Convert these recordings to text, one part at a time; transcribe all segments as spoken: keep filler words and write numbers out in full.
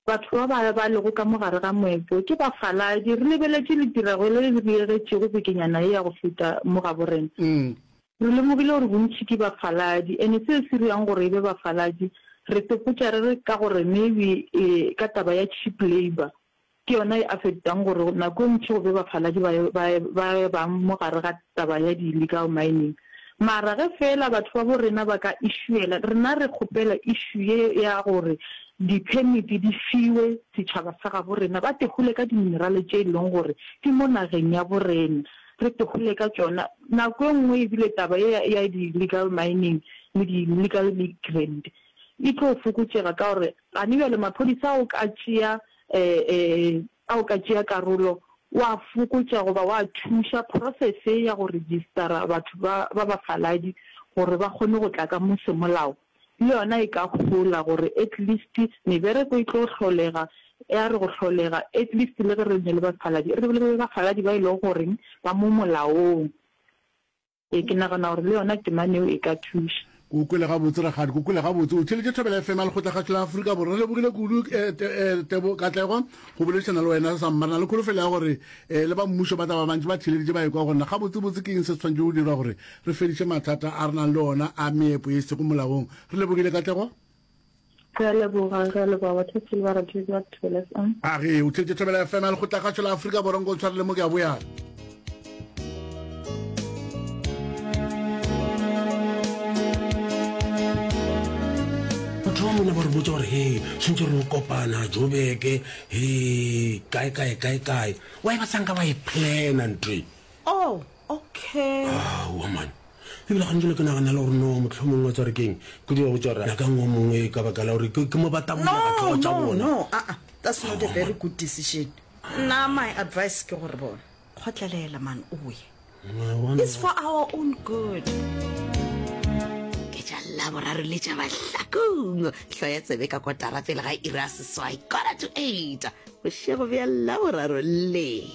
Batho ba ba ba lego ka mo gare ga moepo ke bafaladi. Re lebeletše le tirego le le diegetšego bekenyana ye ya go feta mo gabo rena. Re lemogile gore bontši ke bafaladi, ene seo se dirang gore e be bafaladi, re topotša re re ka gore maybe e ka taba ya cheap labour ke yona e affectang gore nako e ntši go be bafaladi ba ba ba bang mo gare ga taba ya di-illegal mining. Mara ge fela batho ba bo rena ba ka issuela, rena re kgopela issue ye ya gore di-permit di fiwe setšhaba sa gabo rena, ba tehole ka di-mineral tše e leng gore di mo nageng ya bo rena, re tehole ka tšona. Nako e nngwe ebile taba ye ya di-illegal mining le di-illegal migrant e tlo fokotšega ka gore gane bjale maphodisa ao ka tšea um ao ka tšea karolo wa fokotša goba wa thuša process ya go registera batho ba ba bafaladi gore ba kgone go tla ka mo semolao. Le yona e ka gola gore at least mebereko e tlo hlolega, ya re go hlolega at least le ge re ne le bafaladi, re be le bafaladi ba e leng goreng ba mo molaong. Ee, ke nagana gore le yona temane eo e ka thuša. Ke o kwele gabotse, rakgadi, ke o kwele gabotse. O theeletše Thobela F M ya Lekgotlakgašo la Afrika Borwa. Re lebogile kudu, eh, te, eh, Tebo, Katlego, go boledišana le wena samma. Re na le kholofelo ya gore, eh, le ba mmušo ba tla ba bantši ba theeleditše ba ekwa gore na gabotsebotse ke eng se se swanetše go dirwa gore re fediše mathata a re nang le ona a meepo ye e sego molaong. Re lebogile, Katlego. Re a leboga, re a leboga batheetši le barati ba Thobela F M. A ge o theetše Thobela F M ya Lekgotlakgašo la Afrika Borwa, nko ntshwarele mo ke a boya. Batho ba mona ba re botša gore he tshwanetse re kopana Joburg, he kae kae kae kae. Why ba sanka ba e plana ntho e? Oh, okay. Aowa man. Ebile gantši le ke nagana le gore no mohlomongwe wa tsware keng ke dira go tšwara nyakang o mongwe ka baka la gore ke mo ba tabola ka tlhogo tša No, no, bona. no, aa, that's not a very good decision. Nna my advice ke gore bona, kgotlelela man o ye. It's for our own good. Ke tša Laboraro le tša Mahlakong. Hloya tsebe ka kotara pele ga iri ya seswai, quarter to eight, bošego bja Laboraro le.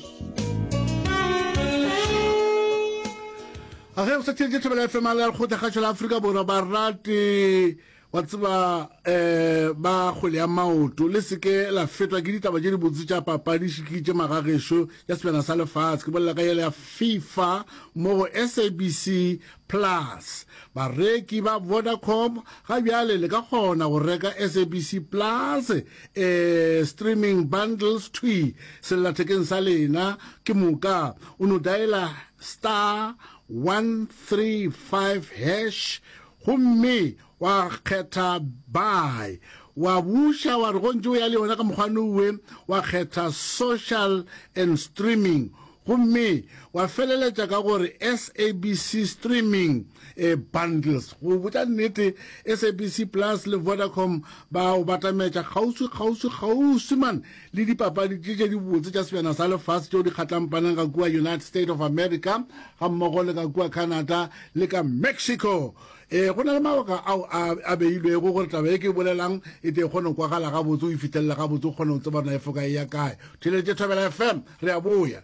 A ge o sa theetše Thobela F M a le ya Lekgotlakgašo la Afrika Borwa, barati wa tseba um ba kgwele ya maoto, le seke la fetwa ke ditaba tše dibotse tša papadi šikitše magagešo ya sebjana sa lefase. Ke bolela ka yela ya FIFA mo go S A B C Plus. Bareki ba Vodacom ga bjale le ka kgona go reka S A B C Plus eh, streaming bundles thwi sellathekeng sa lena. Ke moka o no dialer star one three five hash gomme wa kgetha buy, wa buša wa re go ntše o ya le yona ka mokgwa nowe, wa kgetha social and streaming gomme wa feleletša ka gore S A B C streaming eh, bundles. Go botša nnete, S A B C Plus le Vodacom ba o batametša kgauswi kgauswi kgauswi man le dipapadi tše tše dibotse tša sebjana sa lefase tšeo di kgatlampanang ka kua United States of America ga mmogo le ka kua Canada le ka Mexico. Eh, go na le mabaka ao a, a beilwego gore taba e ke e bolelang e tle e kgone go kwagala gabotse, o e fihlelele gabotse, o kgone go tseba gore na e foka e ya kae. Theeletše Thobela F M, re a boya.